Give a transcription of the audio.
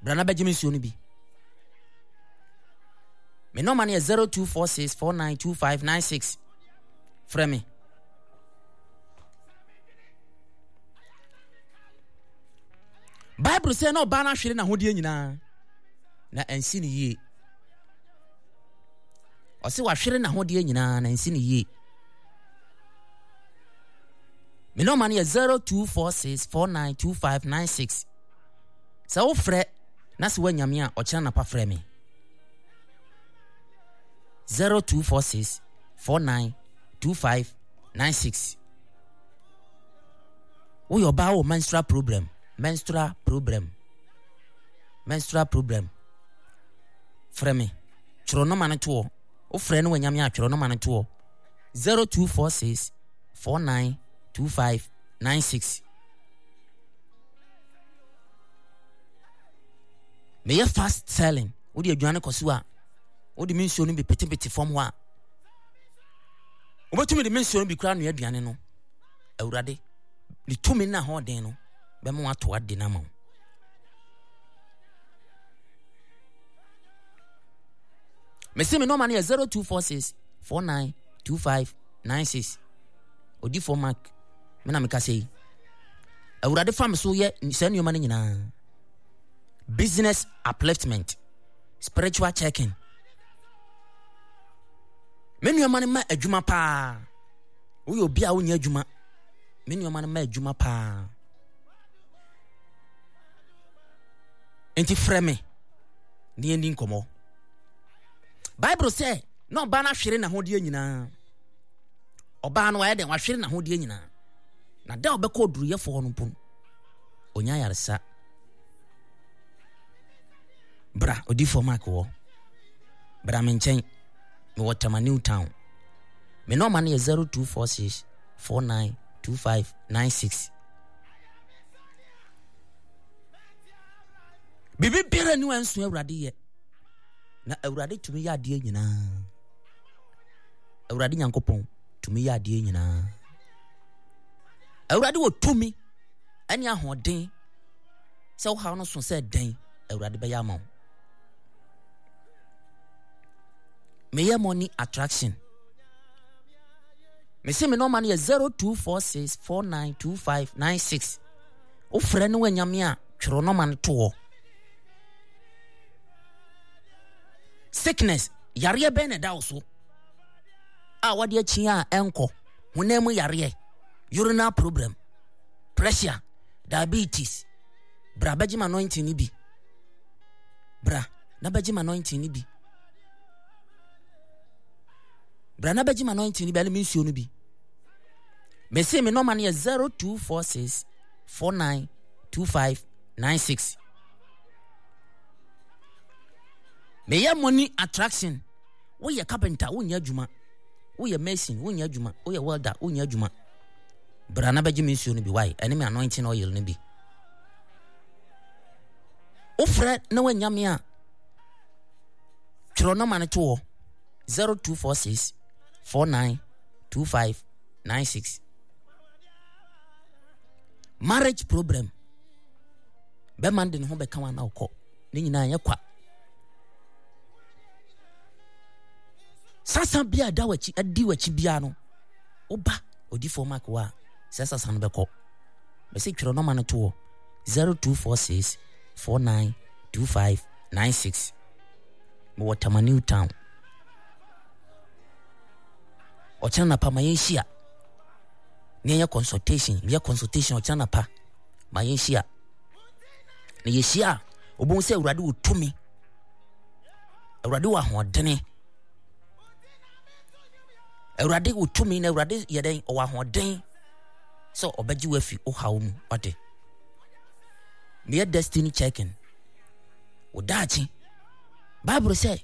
Bra na bɛgye me nsuo no bi. Me nɔma no yɛ 0246492596. Frɛ me. Bible sɛ na ɔbaa no ahwere n'ahodeɛ nyinaa na ansi no yie. Ɔse wahwere n'ahodeɛ nyinaa na ansi no yie. Me nɔma no yɛ 0246492596. Sɛ wofrɛ na sɛ woanya me a, ɔkyena napa frɛ me. 0246 49 25 96. Woyɛ ɔbaa wɔ menstrual problem, menstrual problem, menstrual problem. Frɛ me, twerɛ nɔma no toɔ. Wofrɛ no wanya me a, twerɛ nɔma no toɔ. 0246 49 25 96. Meyɛ fast selling. Wode aduane kɔ so a, wode me nsuo no bi petepete fam hɔ a, wobɛtumi de me nsuo no bi koraa noa aduane no. Awurade, ne tumi no ahoɔden no bɛma wato ade no ama wo. Mese me nɔma no yɛ 0246 49 25 96. Odifoɔ Mark, me na meka sɛ yi. Awurade fa me so yɛ saa nneɛma no nyinaa. Business upliftment, spiritual checking. Me nneɛma no ma adwuma paa. Woyɛ obi a wonyɛ adwuma. Me nneɛma no ma adwuma paa. Nti frɛ me na yɛndi nkɔmmɔ. Bible sɛ na ɔbaa no ahwere n'ahodeɛ nyinaa. Ɔbaa no wayɛ dɛn? Wahwere n'ahodeɛ nyinaa. Na da a ɔbɛkɔ oduruyɛfoɔ hɔ no mpo no, ɔnya ayaresa. Bra, odiyifoɔ Mark wɔ. Bra me nkyɛn. Mewɔ Tema New Town. Me nɔɔma no yɛ 0246 49 25 96. Biribi biara ni wansu Awurade yɛ. Na Awurade tumi yɛ adeɛ nyinaa. Awurade Nyankopɔn tumi yɛ adeɛ nyinaa. Awurade wɔ tumi ne ahoɔden sɛ wohaw no so sɛ dɛn Awurade bɛyɛ ama wo. Meyɛ money attraction. Mese me nɔma no yɛ 0246492596. Wofrɛ no wanyame a twerɛ nɔma no to hɔ. Sickness, yareɛ bɛn na ɛda wo so a wɔde akyi a ɛnkɔ? Honam mu yareɛ, urinal problem, pressure, diabetes. Bra bɛgye ma anointing no bi. Bra na bɛgye ma anointing no bi. Bra na bɛgye ma anointing no bi ɛne me nsuo no bi. Mese me nɔma no yɛ 0246 49 25 96. Meyɛ money attraction. Woyɛ carpenter, wonyɛ adwuma. Woyɛ mason, wonyɛ adwuma. Woyɛ welder, wonyɛ adwuma. Bra na bɛgye me nsuo no bi, why? Ɛne me anointing oil no bi. Wofrɛ na woanya me a, twerɛ nɔma no to hɔ 0246 49 25 96. Marriage problem. Bɛma de ne ho bɛka wa na ɔkɔ. Ne nyinaa yɛ kwa. Sasa bi a ɛda w'akyi adi w'akyi biara no, woba odifoɔ Mark wɔ a, sɛ sasa no bɛkɔ. Mɛsɛ twerɛ nɔma no to hɔ 0246 49 25 96. Mewɔ Tama New Town. Ɔkyena napa ma yɛnhyia na yɛnyɛ consultation. Meyɛ consultation ɔkyena napa ma yɛnhyia. Na yɛhyia a, wobɛhu sɛ Awurade wɔ tumi. Awurade wɔ ahoɔdene. Awurade wɔ tumi na Awurade yɛ dɛn? Ɔwɔ ahoɔden sɛ ɔbɛgye wo afi wo haw mu. Ɔde. Meyɛ destiny checking. Wo daakye. Bible sɛ,